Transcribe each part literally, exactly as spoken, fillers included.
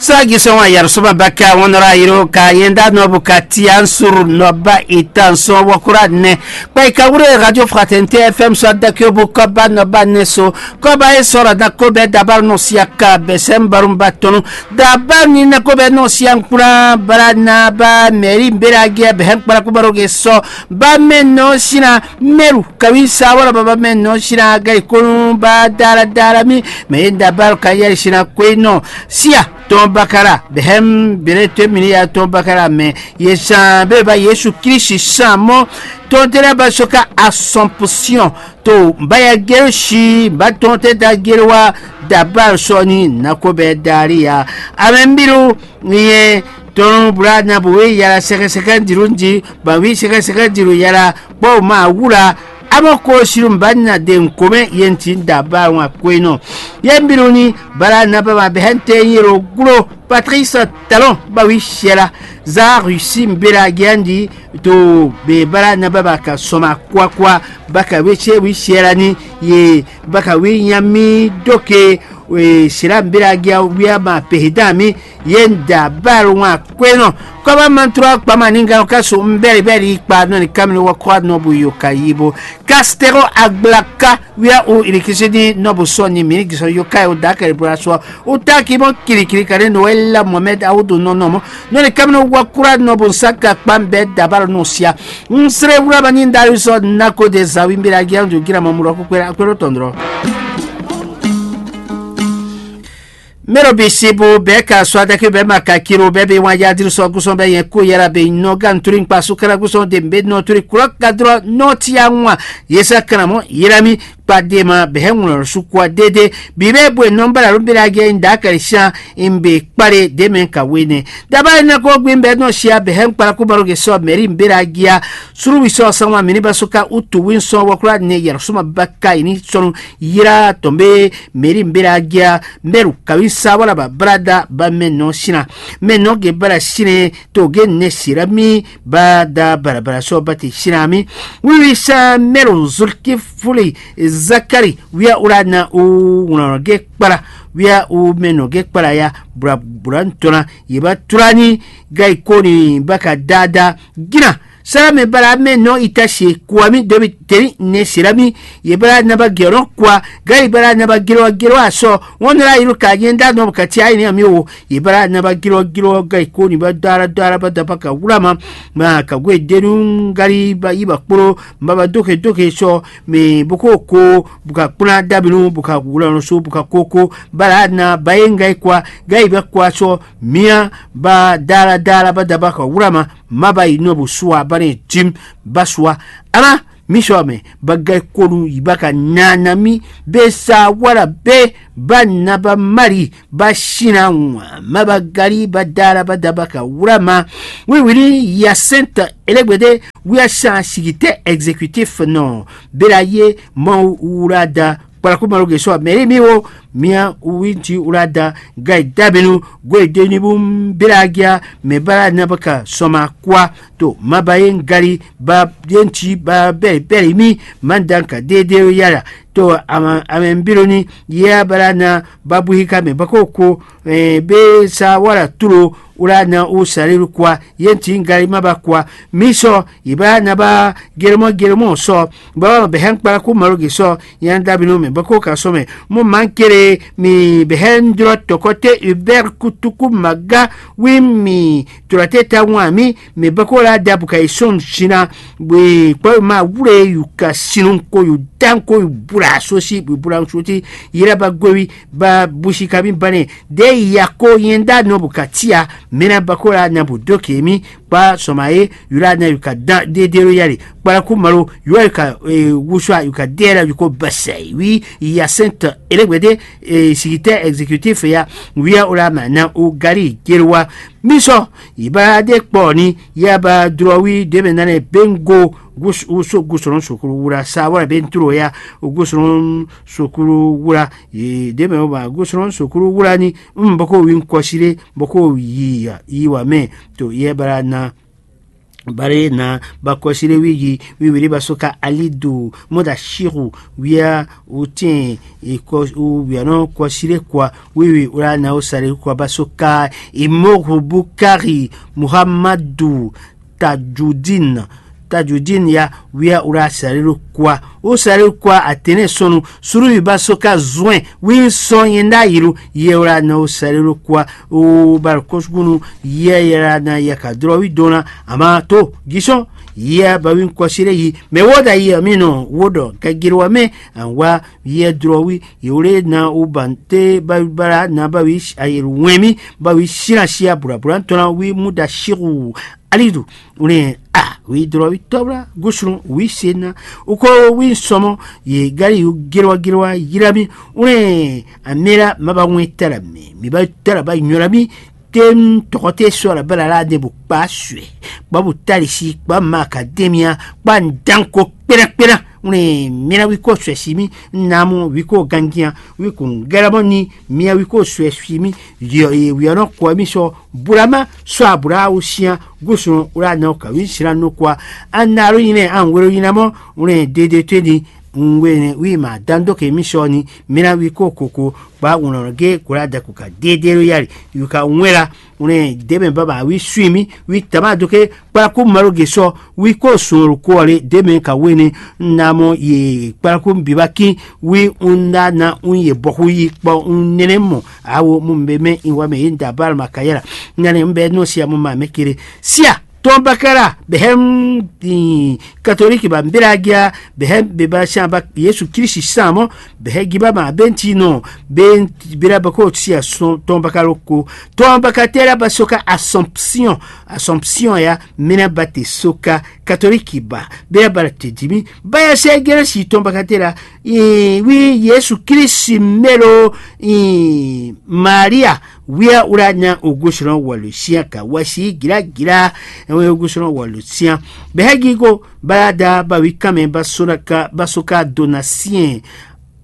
Sagi sɔn wa yɛrɛ sɔba baka wɔn nɔra yiro ka yenda nɔbu ka tia nsuru nɔba itan sɔn wɔkura nɛ. Kpa ika wure radio fraternité F M sɔ dakio bu kɔba nɔba nɛ so. Kɔba e sɔra na ko bɛ dabar nɔ sia ka bɛ sɛn barum ba tɔnu. Dabar ni na ko bɛ nɔ sia nkura bara na ba mɛri mbera gɛ bɛ hɛn kpara ko baro ge sɔ. Ba mɛ nɔ sina mɛru kawi sa wala ba ba mɛ nɔ sina ga ikonu ba dara dara mi. Mɛ ye dabar ka yɛrɛ sina ko e nɔ sia tɔn bakara bɛhɛm bere to mini ya tɔn bakara mɛ ye san be ba Yesu Kristi san mɔ tɔn tɛnɛ ba soka Assomption to ba ya gero si ba tɔn tɛ da gero wa dabar sɔni nako bɛ dari ya. Amɛ mbiru ye tɔn bra na bo we yara sɛkɛ sɛkɛ diru di ba wi sɛkɛ sɛkɛ diru yara kpɔ ma wura. Amɔ ko siru ba na de nkomɛ ye nti dabar wa ko e nɔ. Ye mbiru ni bara na ba ma bɛ hɛn te yero glo Patrice Talon ba wi siela za Russie mbela giandi to be bara na ba ba ka sɔma kwakwa ba ka we se wi siela ni ye ba ka wi nyami doke we sila mbela gia wia ma pehidan mi ye nda bal wa kwenɔ. Kɔba mantrɔ kpama ninga ka so mbɛli bɛli kpa nɔ ni kamini wa kɔ nɔ bu yo ka yibo. Castero Agbla ka wia u ilikisidi nɔbu sɔ ni mini gisɔ yo kai o dakari bura sɔ. U taki mɔ kirikiri kane Noel la Mohamed Awudu nɔnɔ mɔ nɔ ni kamino wa kura nɔbu saka kpa bɛ dabaro nɔ sia. N sere wura ba ni dari sɔ nako de zawi mbira gian du gira mɔ murɔ kukpera akwero tɔndrɔ. Mero bi sibu bɛ ka sɔ adake bɛ ma ka kiro bɛ bi wan yadiri sɔ gusɔn bɛ yɛn ko yara bɛ nɔ gan turi nkpa sukara gusɔn de mbe nɔ turi kura kadrɔ nɔ tia ŋwa. Yesa kana mɔ yirami kpa de ma bɛ hɛ ŋlɔ su kwa dede bi bɛ bwe nɔ bara lu bira ge nda kari shan mbe kpare de mɛ ka wene. Daba na ko gbin bɛ nɔ sia bɛ hɛ kpara ku baro ge sɔ mɛri mbira gia suru wi sɔ sanwa mini ba suka utu wi sɔ wakura ne yara suma baka ini sɔnu yira tɔn be mɛri mbira gia mɛru kawi sa wala ba brada ba mɛ nɔ sina mɛ nɔ ge bara sine to ge ne sira mi ba da barabara sɔ ba te sina mi. Wiwi sa mɛru zulki fuli zakari wia ura na u wlɔnɔ ge kpala wia u mɛ nɔ ge kpala ya bura bura ntɔna ye ba tura ni ga ikoni ba ka dada gina. Sara mɛ bara mɛ nɔ ita se kuwa mi dobi teni ne sira mi ye bara na ba gɛrɔ kuwa ga ye bara na ba gɛrɔ gɛrɔ asɔ wọn nara yiru ka nyɛ da nɔ ka tia ni ami wo ye bara na ba gɛrɔ gɛrɔ ga ikoni ba dara dara ba dapa ka wura ma ma ka gwe denu gari ba yi ba kporo ma ba doke doke sɔ mi boko ko buka kpuna dabinu buka wulɔnɔ so buka koko bara na ba ye nga ikwa ga ibe kwa sɔ mia ba dara dara ba daba ka wura ma ma ba yi nɔ bu suwa ba ne jim ba suwa ama mi sɔ mɛ ba ga konu yi ba ka nana mi be sa wala be ba na ba mari ba sina ŋwa ma ba gari ba dara ba daba ka wura ma. Wiwili yasenta elegbede wia san sigitɛ exécutif nɔ bela ye mɔ wura da kpalaku malo ge sɔ mɛri mi wo mia winti wura da ga dabinu gwe deni bu bela gia mɛ bara na ba ka sɔma kwa to ma ba ye gari ba yenti ba bɛri bɛri mi ma dan ka dede yara to ama amɛ mbironi ya bara na ba buhi ka mɛ bako ko eh, be sa wala tulo wala na o sariru kwa ye nti ngari ma ba kwa mi sɔ yi ba na ba geremɔ geremɔ sɔ ba wa bɛ hɛn kpara ku malo ge sɔ yan dabinu mɛ bako ka sɔ mɛ mo man kere mi bɛ hɛn drɔ tɔkɔte uber kutuku maga wi mi tɔlɔte ta wan mi mɛ bako la da buka yi sɔn sina we kpɔ ma wule yu ka sinu ko yu dan ko yu bula sosi yu bula sosi yira ba gwewi ba busi kami bane de ya ko yenda nɔ bu ka tia mena bako la na bu doke mi kpa sɔma ye yura na yu ka dan de de ro yari kpara ku malo yura yu ka eh, wusua yu ka de la yu ko basai wi ya sent elegbede eh, sigitɛ exécutif ya wia o la ma na o gari jeruwa mi sɔ yi ba de kpɔ ni ya ba drɔ wi de mɛ nanɛ bengo gus uso gusɔnɔ sukuru wura sa wala ben turo ya gusɔnɔ sukuru wura ye de mɛ o ba gusɔnɔ sukuru wura ni um boko wi nkɔsire boko yi ya yi wa mɛ to ye bara na Bari na ba kɔsire wi yi wiwi ba so ka alidu moda shiru wia utin ikɔ wiano kɔsire kwa wiwi ura na o sare kwa ba so ka imohu bukari muhammadu tajudin tajudin ya wia ura sare kwa o sare kwa atene sɔnu suru wi ba so ka zɔn wi sɔn yenda yiru ye ura na o sare kwa o ba kɔsugunu ye yera na ya ka drɔ wi dona ama to gisɔn ye ba wi kɔsire yi mɛ wo da yi mi nɔ wo dɔ gagiri wa mɛ an wa yɛ drɔ wi yewle na o ban te ba bara na ba wi ayelu wɛn mi ba wi sina sia bura bura tɔn wi mu da shiru alidu ne a wi drɔ wi tɔbla gosunu wi se na o ko wi sɔmɔ ye gari yu gilwa gilwa yira mi ne amira ma ba wɛn tala mi mi ba tala ba nyɔla mi tem tɔgɔte sɔ la bala la de bo kpa suɛ kpa bo tali si kpa ma ka demia kpa ndanko kpena kpena. Une mina wi ko suɛ si mi namu wi ko gangian wi ko ngɛlɛmɔ ni mia wi ko suɛ si mi yɔ ye wiɔnɔ kɔ mi sɔ bulama sɔ abula wo sian gosun wla na ka wi sira no kwa. Anaro yinɛ an wero yinamɔ une dede to ni nwe wi ma dan do ke mi sɔ ni mina wi ko koko kpa wunɔ ge kula da ko ka dede lo yari yu ka wɛn la. Une deme baba wi sui mi wi tama do ke kpalaku malo ge sɔ wi ko sun ko le deme ka wene. Na mɔ ye kpalaku biba ki wi un da na un ye bɔku yi kpɔ un nene mɔ awo mu be mɛ in wa mɛ ye da bal ma kayela. Nane un bɛ no sia mu ma mɛ kere sia tɔn bakala bɛ hɛn katoliki ba mbela gia bɛ hɛn be ba sian ba yesu kirisi san mɔ bɛ hɛn giba ma benti nɔ be bela bako sia sɔn tɔn bakalo ko tɔn bakatela ba soka assumption assumption ya mina ba te soka katoliki ba bela ba te dimi ba ya sɛ gɛrɛ si tɔn bakatela wi yesu kirisi melo maria wia wla nya ogosunɔ wɔlu sian ka wasi gilagila ɛwɛ ogosunɔ wɔlu sian bɛhɛ gigo balada bawi kanmɛ basoka dona siɛn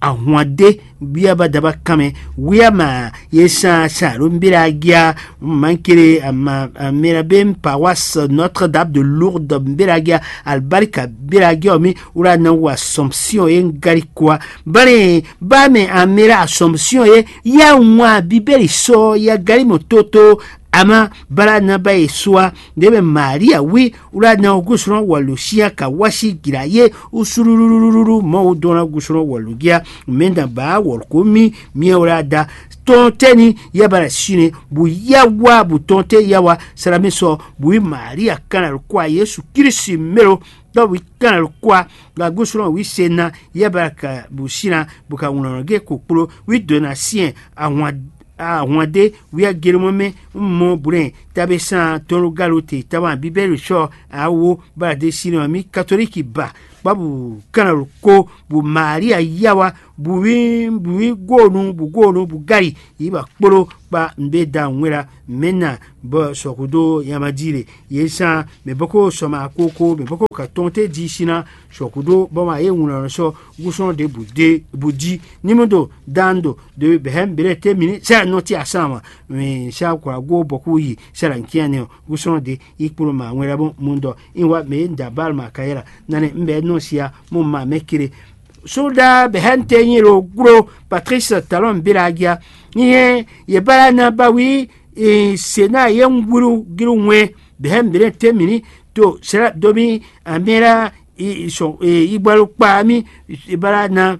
ahwan de wia badaba kanmɛ wia ma ye san san alo mbila gia mankele ama amira ben pawas notre dame de lourdes mbila gia albarika mbila gia mi wla na wa assumption ye ngari kwa bane ba mɛ amira assumption ye ya ŋwa bibeli sɔ ya gari mɔ toto ama bala na ba ye sua de mɛ maria wi wla na gusrɔn wa lusia ka wasi gira ye usululululu mɔ wo dɔn na gusrɔn wa lugia mɛ na ba wɔlko mi miɛ wla da tɔn tɛni ya bala sine bu ya wa bu tɔn tɛ ya wa salami sɔ bu yi maria kana kwa yesu kirisi melo dɔ bu kana kwa la gusrɔn wi se na ya bala ka bu sina bu ka ŋlɔnɔ ge kokplo wi dona siɛn ahwan ahwan ɖé wia gelomɔ mɛ mɔ brɛn tabe san tɔnlugalo te taban bibɛlu sɔ awo bala de sinɔ mi katoliki ba kpabu kanalo ko bu maria yawa bu wi bu wi gonu bu gonu bu gari yi ba kpolo kpa nbe da ŋwela mɛna bɔ sɔkudo yamadi le ye san mɛ bɔko sɔma koko mɛ bɔko ka tɔn te di sina sɔkudo bɔ ma ye ŋlɔ sɔ gusɔn de bu de bu di ni mo do dan do de bɛhɛ bɛlɛ te mini sɛ nɔ ti asan wa mi sa kura go bɔku yi sɛ la nkian ne o gusɔn de ikpolo ma ŋwɛ la bo mu dɔ in wa mɛ ye da bal ma kayɛ la nane n bɛ nɔ sia mo ma mɛ kele soda bɛhɛ n te nyi lo glo patrice talon belagia ni ye ye bala na ba wi sena ye ŋgulu gilu ŋwɛ bɛhɛ bɛlɛ te mini to sɛ domi amɛla i sɔn i bɔlu kpa mi i bala na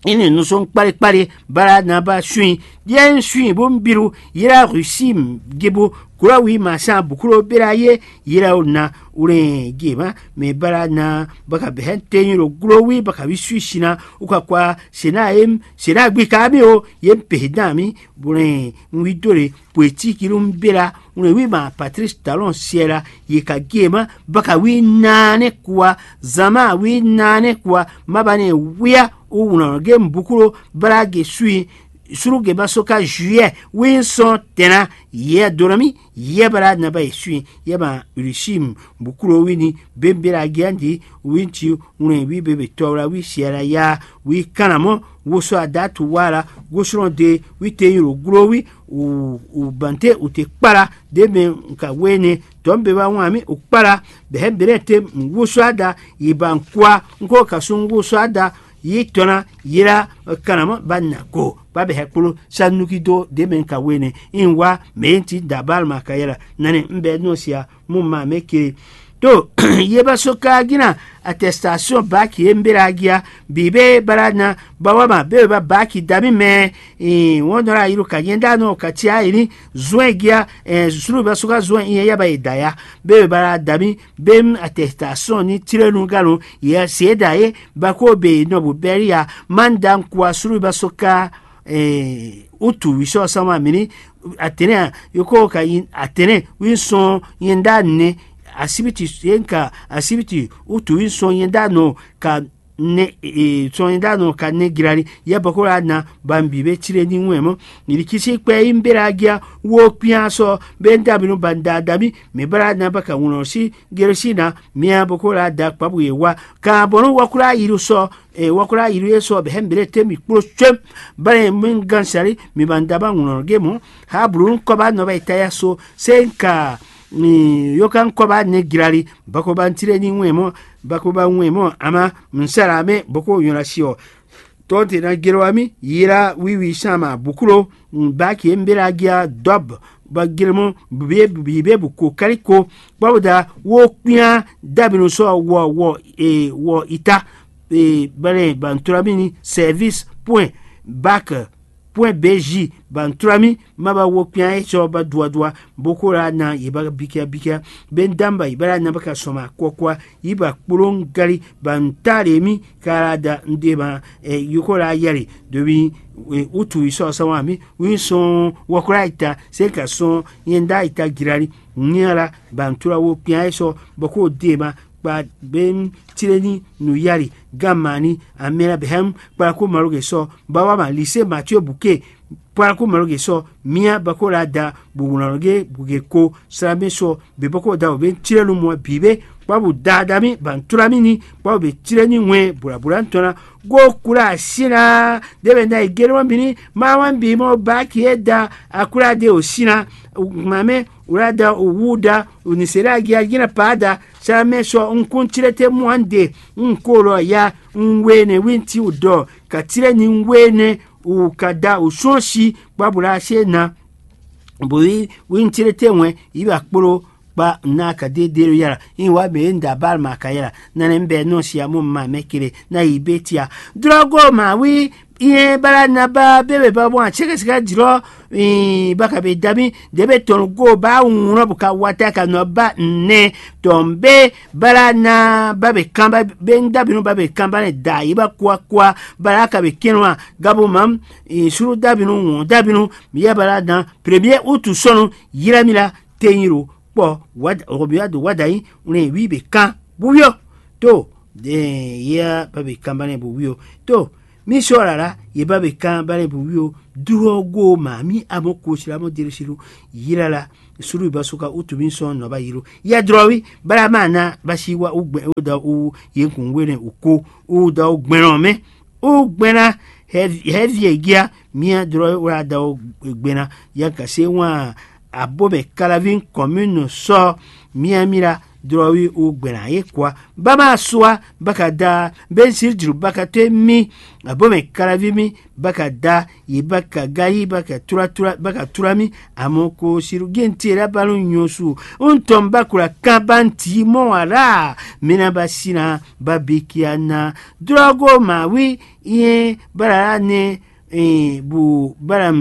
ini nusɔn kpali kpali bala na ba suin yɛn suin bo biru yira rusi gibu kura wi ma san bukuro bela ye yira o na uren gema me bala na baka behen tenyi lo glo wi baka wi sui sina uka kwa sena em sena gbi ka mi o ye pehe dan mi buren wi dole poétique ló ń béra ŋlɔ wí ma patrice talon siɛla ye ka gé ma baka wí naanɛ kua zama wí naanɛ kua mabane wia o wlɔn ge mbukuro bala ge sui Suruge ba soka juillet win sɔn tɛnna yɛ donami yɛ bara naba esui yɛ ma urishim bukuro wini bembera giandi winti wlɛn wi bebe tɔwla wi siara ya wi kanamɔ woso adatu wala gosɔn de wi te yiro glo wi u bante u te kpala de mɛ nka wene tɔn be wa wan mi u kpala bɛhɛ bere te woso ada yi ba nkwa nko kasun woso ada yi tɔna yira kanamɔ ba na ko ba bɛhɛ kpolo sanuki do de mɛ nka wene in wa mɛ ti dabal ma ka yala nani n bɛ nɔ sia mo ma mɛ kiri. To ye ba so ka gina attestation baki e mbera agia bi be bara na ba wa ma be ba baki dami mɛ wɔn dɔ la yiro ka nyɛ da nɔ ka tia ini zuɛn gia sulu ba so ka zuɛn in ya ba yi da ya be bara dami be attestation ni tirenu galo ye se da ye ba ko be nɔ bu bɛri ya man da nkua sulu ba so ka utu wisɔ sama mini atene a yoko ka yin atene wi sɔn yin da ne asibiti yen ka asibiti utu wi sɔn yin da nɔ ka ne sɔn yin da nɔ ka ne girani ya bɔkɔ la na ban bi be tire ni wɛn mɔ nirikisi kpɛ yi mbera agia wo kpian sɔ be da binu ban da da mi mi bara na ba ka wunɔ si geresi na mia bɔkɔ la da kpabu ye wa ka bɔnu wakula yiru sɔ e wɔkula yiru ye sɔ bɛ hɛn bere te mi kplo tswem bale mi gan sari mi ban daba ŋlɔ ge mɔ ha blu kɔba nɔ ba itaya so se ka mi yoka kɔba ne girali bako ba ntire ni ŋue mɔ bako ba ŋue mɔ ama nsara me boko yɔna si ɔ tɔnte na gero ami yira wiwi sama buklo baki mbela gia dɔb ba gere mɔ bibe bu ko kali ko kpɔbɔ da wo kpian dabinu sɔ wɔ wɔ e wɔ ita e bɛlɛ bantura mi ni service point bac point bj bantura mi ma ba wo kpian e sɔ ba dua dua boko la na ye ba bikia bikia be n damba yi ba la na ba ka sɔma kɔkɔa yi ba kplɔn gali ba n ta le mi ka la da n de ma e yoko la yɛli dobi utu yi sɔ sɔma mi wi sɔn wɔkla yi ta se ka sɔn yɛn da yi ta girali nyala ba n tura wo kpian e sɔ bɔ ko de ma kpa be n tire ni nu yali gan mani amɛla bɛ hɛn kpala ko malo ke sɔ ba wa ma lise matio buke kpala ko malo ke sɔ mia ba ko la da bu wlɔn ge buke ko sra mi sɔ be bɔ ko da o be n tire nu mɔ bi be kpa bu da da mi ba n tura mi ni kpa bu be tire ni wɛn bula bula n tɔn na go kula sina de be na igere mɔ bi ni ma wa bi mɔ ba ki e da akula de o sina ma mɛ wula da o wu da o ni se da gi a gi na pa da sara mɛ sɔ n kun tire te mu an de n ko lɔ ya n we ne wi ti o dɔ ka tire ni n we ne o ka da o sɔn si kpa bula se na bo yi wi n tire te wɛn yi ba kpolo kpa na ka de de yala in wa be n da bal ma ka yala nane n bɛ nɔ si a mo ma mɛ kele na yi be tia drogo ma wi iye bala na ba bebe ba bɔ a sɛgɛsɛgɛ jlɔ ba ka be dabi de be tɔn go ba wun bu ka wata ka nɔ ba nɛ tɔn be bala na ba be kan ba be n dabi nu ba be kan ba ne da yi ba kua kua bala ka be kɛnɛ wa gabo mam suru dabi nu wɔn dabi nu mi ya bala na premier utu sɔnu yira mi la teyin ro kpɔ wada ɔgɔbi wa do wada yi wlɛn wi be kan bu yɔ to de ya ba be kan ba ne bu wi o to mi sɔ lala ye ba be kan ba ne bu wi o duro go ma mi amo ko sila mo diri silu yila la sulu ba suka utu mi sɔn nɔ ba yilo ya drɔ wi bala ma na ba si wa u gbɛ o da u ye kun wele u ko u da u gbɛnɔ mɛ u gbɛna hɛvi egia mia drɔ wa da u gbɛna ya ka se wa abomɛ kalavi kɔminu sɔ mia mira drɔ wi u gbɛna ye kwa ba ma sua ba ka da ben siri juru ba ka te mi abomɛ kalavi mi ba ka da yi ba ka ga yi ba ka tura tura ba ka tura mi amo ko siru gen ti la ba nu nyosu un tɔn ba kula kan ba n ti mɔ wa la mina ba sina ba bi kia na drogo ma wi ye ba la ne bu ba la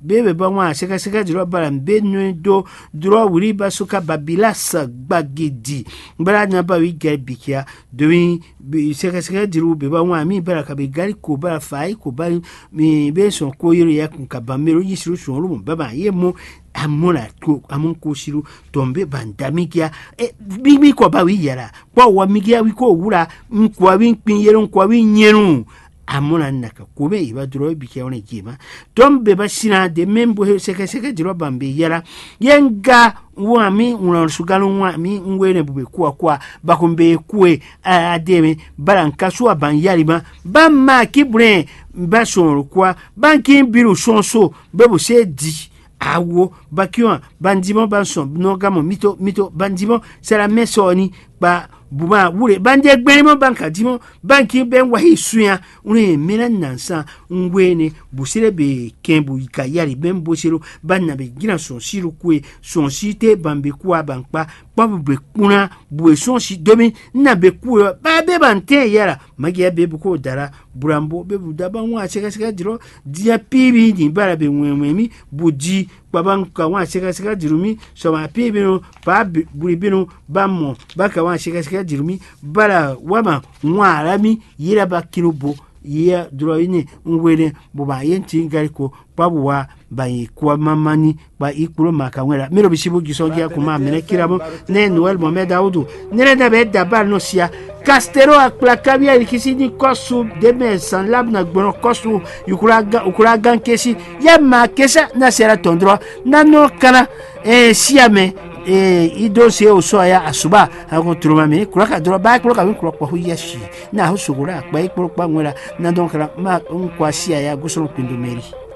be be ba ŋwa sɛkɛsɛkɛ jlɔ ba la be nue do drɔ wuli ba suka babila sa gbagidi ba la na ba wi gɛ bi kia domi sɛkɛsɛkɛ diru be ba ŋwa mi ba la ka be gari ko ba la fa yi ko ba mi be sɔn ko yiri ya kun ka ba mero yi siru sɔn lu ba ba ye mo amɔ la ko amɔ ko siru tɔn be ba n da mi kia e bi mi kɔ ba wi yara kpɔ wɔ mi kia wi ko wula nkɔ wi kpin yɛlɛ nkɔ wi nyɛnu Amɔ́ na naka kome yi ba dlɔ́ bi kɛ wɔn ji ma. Tɔm be ba sina de mɛ bo sɛkɛ sɛkɛ dlɔ́ ban be yala. Yɛ nga wan mi ŋlɔ sugalɔ wan mi ŋwe ne bo be kua kua ba ko be kue ade mi bala nka su aban yali ma. Ba ma ki brɛ ba sɔn kua ba ki bilu sɔn so be bo se di. Awo bakiwan bandimɔ bansɔn nɔgamɔ mito mito bandimɔ salamɛ sɔni kpa buma wule bande gbɛnmɔ banka dimɔ banki bɛ wahi sunya. Wule mila nansan ngwene busire be kɛn bu ka yari bɛn bosero bana be gira sɔn siru kue sɔn si te ban be kuwa ban kpa kpɔ bu be kpuna bu e sɔn si domi na be kuwe ba be ban tɛ yara magi be bu ko dara burambo be bu daba ŋu asɛkɛsɛkɛ dro dia pibi ni bara be wɛnwɛn mi bu di kpaba ka wan sika sika dirumi sɔma pi binu pa buli binu ba mɔ ba ka wan sika sika dirumi bala wama wan ala mi yira ba kinu bo yia dlɔ yi ne ŋwe ne bo ba ye ŋuti gari ko kpa bu wa ba yi kua mama ni ba yi kplo ma ka ŋwe la mi ɖo bisi bo gisɔn gi akuma mɛ ne kira mo ne noel mohammed awudu ne ne da bɛ da ba nɔ sia Kastero akplakavi ayikisi ní kɔ́su ɖěmɛ zǎn lábǔ ná gbɔn kɔ́su ukulagan kesi yɛ ma kesa ná sɛra tɔn dlɔ ná nɔ kana siya mɛ idó se o sɔ ya asuba ako troma mɛ kula ka dlɔ ba kplɔ ka mi kplɔ kpɔxu yɛ si na ho sogo la akpa yi kplɔ kpa ŋwɛ la na dɔn kana ma ŋkɔ siya ya gosɔn pindo mɛri.